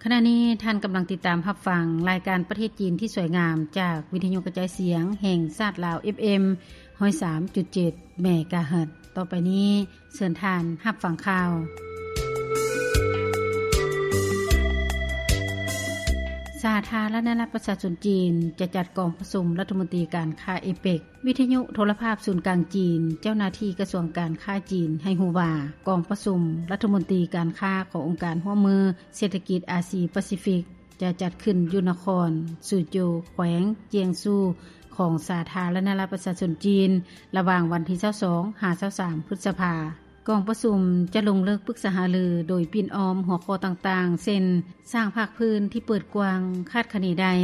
ຂະນະນີ້ທ່ານກຳລັງຕິດຕາມຮັບຟັງລາຍການປະເທດຈີນທີ່ສວຍງາມ ຈາກວິທະຍຸກະຈາຍສຽງແຫ່ງຊາດລາວ ເອັຟເອັມ ຮ້ອຍສາມຈຸດເຈັດ ເມກາເຮີດ. ຕໍ່ໄປນີ້ ເຊີນທ່ານຮັບຟັງຂ່າວ. ສາທາລະນະລັດປະຊາຊົນຈີນ ຈະຈັດກອງປະຊຸມລັດຖະມົນຕີການຄ້າເອເປກ. ວິທະຍຸໂທລະພາບສູນກາງຈີນ, ເຈົ້າໜ້າທີ່ກະຊວງການຄ້າຈີນໃຫ້ຮູ້ວ່າ ກອງປະຊຸມລັດຖະມົນຕີການຄ້າຂອງອົງການຮ່ວມມືເສດຖະກິດອາຊີປາຊີຟິກ ຈະຈັດຂຶ້ນຢູ່ນະຄອນຊູໂຈ ແຂວງຈຽງຊູ ຂອງສາທາລະນະລັດປະຊາຊົນຈີນ ລະຫວ່າງວັນທີຊາວສອງ ຫາ ຊາວສາມ ພຶດສະພາ. ກອງປະຊຸມຈະລົງເລິກປຶກສາຫາລືໂດຍປິ່ນອ້ອມຫົວຂໍ້ຕ່າງໆ ເຊັ່ນ ສ້າງພາກພື້ນທີ່ເປີດກວ້າງ, ຄາດຄະເນໄດ້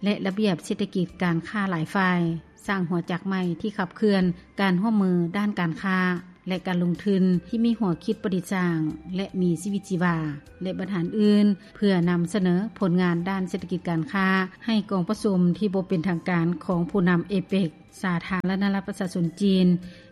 ແລະ ລະບຽບເສດຖະກິດການຄ້າຫຼາຍຝ່າຍ, ສ້າງຫົວຈັກໃໝ່ທີ່ຂັບເຄື່ອນການຮ່ວມມືດ້ານການຄ້າ ແລະ ການລົງທຶນທີ່ມີຫົວຄິດປະດິດສ້າງ ແລະ ມີຊີວິດຊີວາ ແລະ ບັນຫາອື່ນໆ ເພື່ອນຳສະເໜີຜົນງານດ້ານເສດຖະກິດການຄ້າ ໃຫ້ກອງປະຊຸມທີ່ບໍ່ເປັນທາງການຂອງຜູ້ນຳເອເປກ, ສາທາລະນະລັດປະຊາຊົນຈີນ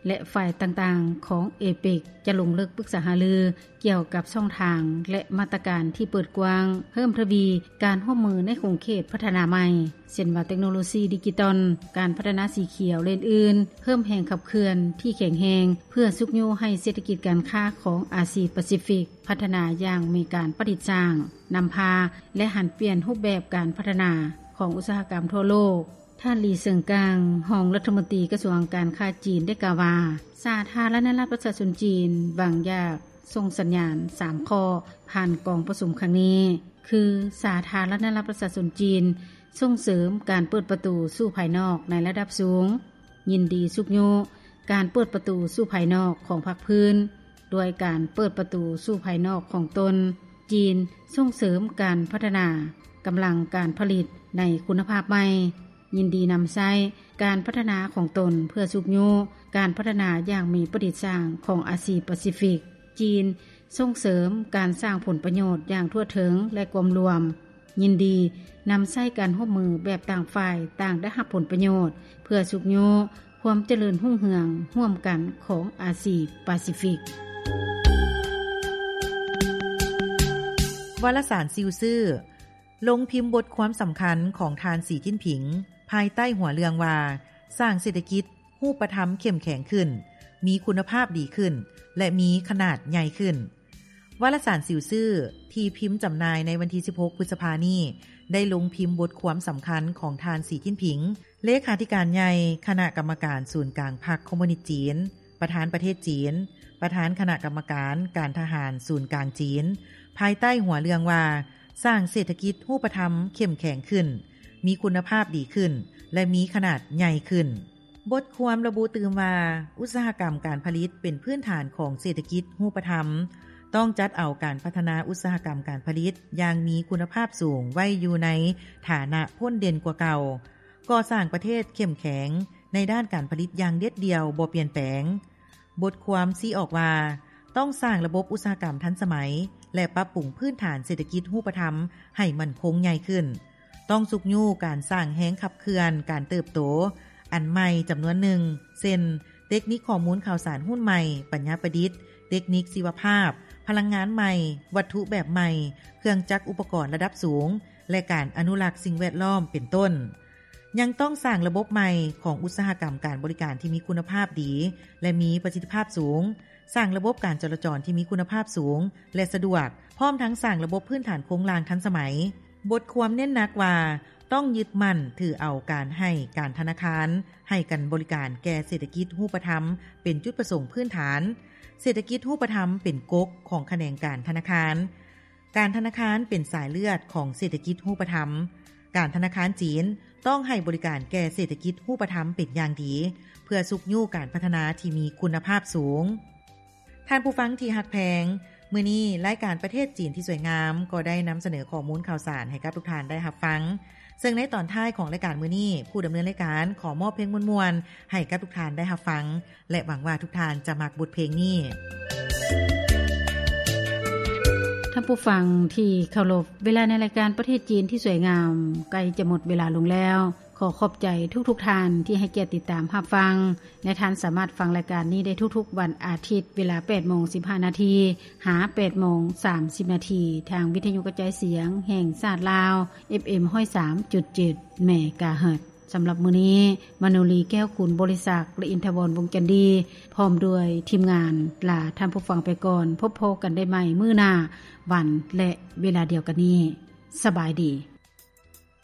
ແລະ ຝ່າຍຕ່າງໆຂອງເອເປກ ຈະລົງເລິກປຶກສາຫາລືກ່ຽວກັບຊ່ອງທາງ ແລະ ມາດຕະການທີ່ເປີດກວ້າງ, ເພີ່ມທະວີການຮ່ວມມືໃນຂົງເຂດພັດທະນາໃໝ່ ເຊັ່ນວ່າເຕັກໂນໂລຊີດິຈິຕອນ, ການພັດທະນາສີຂຽວ ແລະ ອື່ນໆ, ເພີ່ມແຮງຂັບເຄື່ອນທີ່ແຂງແຮງ ເພື່ອຊຸກຍູ້ໃຫ້ເສດຖະກິດການຄ້າຂອງອາຊີປາຊີຟິກພັດທະນາຢ່າງມີການປະດິດສ້າງ, ນຳພາ ແລະ ຫັນປ່ຽນຮູບແບບການພັດທະນາຂອງອຸດສາຫະກຳທົ່ວໂລກ. ທ່ານ ຫຼີ ເຊີງກາງ ຮອງລັດຖະມົນຕີກະຊວງການຄ້າຈີນ ໄດ້ກ່າວວ່າ ສາທາລະນະລັດປະຊາຊົນຈີນ ຫວັງຢາກສົ່ງສັນຍານສາມຂໍ້ຜ່ານກອງປະຊຸມຄັ້ງນີ້ ຄື ສາທາລະນະລັດປະຊາຊົນຈີນ ສົ່ງເສີມການເປີດປະຕູສູ່ພາຍນອກໃນລະດັບສູງ, ຍິນດີຊຸກຍູ້ການເປີດປະຕູສູ່ພາຍນອກຂອງພາກພື້ນ ດ້ວຍການເປີດປະຕູສູ່ພາຍນອກຂອງຕົນ. ຈີນ ສົ່ງເສີມການພັດທະນາກຳລັງການຜະລິດໃນຄຸນນະພາບໃໝ່, ຍິນດີນຳໃຊ້ການພັດທະນາຂອງຕົນເພື່ອຊຸກຍູ້ການພັດທະນາຢ່າງມີປະດິດສ້າງຂອງອາຊີປາຊີຟິກ. ຈີນ ສົ່ງເສີມການສ້າງຜົນປະໂຫຍດຢ່າງທົ່ວເຖິງ ແລະ ກວມລວມ, ຍິນດີນຳໃຊ້ການຮ່ວມມືແບບຕ່າງຝ່າຍຕ່າງໄດ້ຮັບຜົນປະໂຫຍດ ເພື່ອຊຸກຍູ້ຄວາມຈະເລີນຮຸ່ງເຮືອງຮ່ວມກັນຂອງອາຊີປາຊີຟິກ. ວາລະສານຊິວຊື່ ລົງພິມບົດຄວາມສຳຄັນຂອງທ່ານ ສີ ຈິ້ນຜິງ ພາຍໃຕ້ຫົວເລື່ອງວ່າ ສ້າງເສດຖະກິດຮູບປະທຳເຂັ້ມແຂງຂຶ້ນ, ມີຄຸນນະພາບດີຂຶ້ນ ແລະ ມີຂະໜາດໃຫຍ່ຂຶ້ນ. ວາລະສານຊິວຊື່ ທີ່ພິມຈຳໜ່າຍໃນວັນທີສິບຫົກ ພຶດສະພານີ້ ໄດ້ລົງພິມບົດຄວາມສຳຄັນຂອງທ່ານ ສີ ຈິ້ນຜິງ ເລຂາທິການໃຫຍ່ຄະນະກຳມະການສູນກາງພັກຄອມມູນິດຈີນ, ປະທານປະເທດຈີນ, ປະທານຄະນະກຳມະການການທະຫານສູນກາງຈີນ, ພາຍໃຕ້ຫົວເລື່ອງວ່າ ສ້າງເສດຖະກິດຮູບປະທຳເຂັ້ມແຂງຂຶ້ນ, ມີຄຸນນະພາບດີຂຶ້ນ ແລະ ມີຂະໜາດໃຫຍ່ຂຶ້ນ. ບົດຄວາມລະບຸຕື່ມວ່າ ອຸດສາຫະກຳການຜະລິດເປັນພື້ນຖານຂອງເສດຖະກິດຮູບປະທຳ, ຕ້ອງຈັດເອົາການພັດທະນາອຸດສາຫະກຳການຜະລິດຢ່າງມີຄຸນນະພາບສູງໄວ້ຢູ່ໃນຖານະພົ້ນເດັ່ນກວ່າເກົ່າ, ກໍ່ສ້າງປະເທດເຂັ້ມແຂງໃນດ້ານການຜະລິດຢ່າງເດັດດ່ຽວບໍ່ປ່ຽນແປງ. ບົດຄວາມຊີ້ອອກວ່າ ຕ້ອງສ້າງລະບົບອຸດສາຫະກຳທັນສະໄໝ ແລະ ປັບປຸງພື້ນຖານເສດຖະກິດຮູບປະທຳໃຫ້ໝັ້ນຄົງໃຫຍ່ຂຶ້ນ. ຕ້ອງຊຸກຍູ້ການສ້າງແຮງຂັບເຄື່ອນການເຕີບໂຕອັນໃໝ່ຈຳນວນໜຶ່ງ ເຊັ່ນ ເຕັກນິກຂໍ້ມູນຂ່າວສານຮຸ່ນໃໝ່, ປັນຍາປະດິດ, ເຕັກນິກຊີວະພາບ, ພະລັງງານໃໝ່, ວັດຖຸແບບໃໝ່, ເຄື່ອງຈັກອຸປະກອນລະດັບສູງ ແລະ ການອະນຸລັກສິ່ງແວດລ້ອມ ເປັນຕົ້ນ. ຍັງຕ້ອງສ້າງລະບົບໃໝ່ຂອງອຸດສາຫະກຳການບໍລິການທີ່ມີຄຸນນະພາບດີ ແລະ ມີປະສິດທິພາບສູງ, ສ້າງລະບົບການຈະລາຈອນທີ່ມີຄຸນນະພາບສູງ ແລະ ສະດວກ, ພ້ອມທັງສ້າງລະບົບພື້ນຖານໂຄງລ່າງທັນສະໄໝ. ບົດຄວາມເນັ້ນໜັກວ່າ ຕ້ອງຍຶດໝັ້ນຖືເອົາການໃຫ້ການທະນາຄານໃຫ້ການບໍລິການແກ່ເສດຖະກິດຮູບປະທຳເປັນຈຸດປະສົງພື້ນຖານ. ເສດຖະກິດຮູບປະທຳເປັນກົກຂອງຂະແໜງການທະນາຄານ. ການທະນາຄານເປັນສາຍເລືອດຂອງເສດຖະກິດຮູບປະທຳ. ການທະນາຄານຈີນຕ້ອງໃຫ້ບໍລິການແກ່ເສດຖະກິດຮູບປະທຳເປັນຢ່າງດີ ເພື່ອຊຸກຍູ້ການພັດທະນາທີ່ມີຄຸນນະພາບສູງ. ທ່ານຜູ້ຟັງທີ່ຮັກແພງ, ມື້ນີ້ລາຍການປະເທດຈີນທີ່ສວຍງາມກໍໄດ້ນຳສະເໜີຂໍ້ມູນຂ່າວສານໃຫ້ກັບທຸກທ່ານໄດ້ຮັບຟັງ. ເຊິ່ງໃນຕອນທ້າຍຂອງລາຍການມື້ນີ້, ຜູ້ດຳເນີນລາຍການຂໍມອບເພງມ່ວນໆໃຫ້ກັບທຸກທ່ານໄດ້ຮັບຟັງ ແລະ ຫວັງວ່າທຸກທ່ານຈະມັກບົດເພງນີ້. ທ່ານຜູ້ຟັງທີ່ເຄົາລົບ, ເວລາໃນລາຍການປະເທດຈີນທີ່ສວຍງາມໃກ້ຈະໝົດເວລາລົງແລ້ວ. ຂໍຂອບໃຈທຸກໆທ່ານທີ່ໃຫ້ກຽດຕິດຕາມຮັບຟັງ ແລະ ທ່ານສາມາດຟັງລາຍການນີ້ໄດ້ທຸກໆວັນອາທິດ ເວລາ ແປດໂມງສິບຫ້ານາທີ ຫາ ແປດໂມງສາມສິບນາທີ ທາງວິທະຍຸກະຈາຍສຽງແຫ່ງຊາດລາວ ເອັຟເອັມ ຮ້ອຍສາມຈຸດເຈັດ ເມກາເຮີດ. ສຳລັບມື້ນີ້ ມະໂນລີ ແກ້ວຄູນບໍລິສັກ ແລະ ອິນທະວອນ ວົງຈັນດີ ພ້ອມດ້ວຍທີມງານ ລາທ່ານຜູ້ຟັງໄປກ່ອນ. ພົບພໍ້ກັນໄດ້ໃໝ່ມື້ໜ້າ ວັນ ແລະ ເວລາດຽວກັນນີ້. ສະບາຍດີ.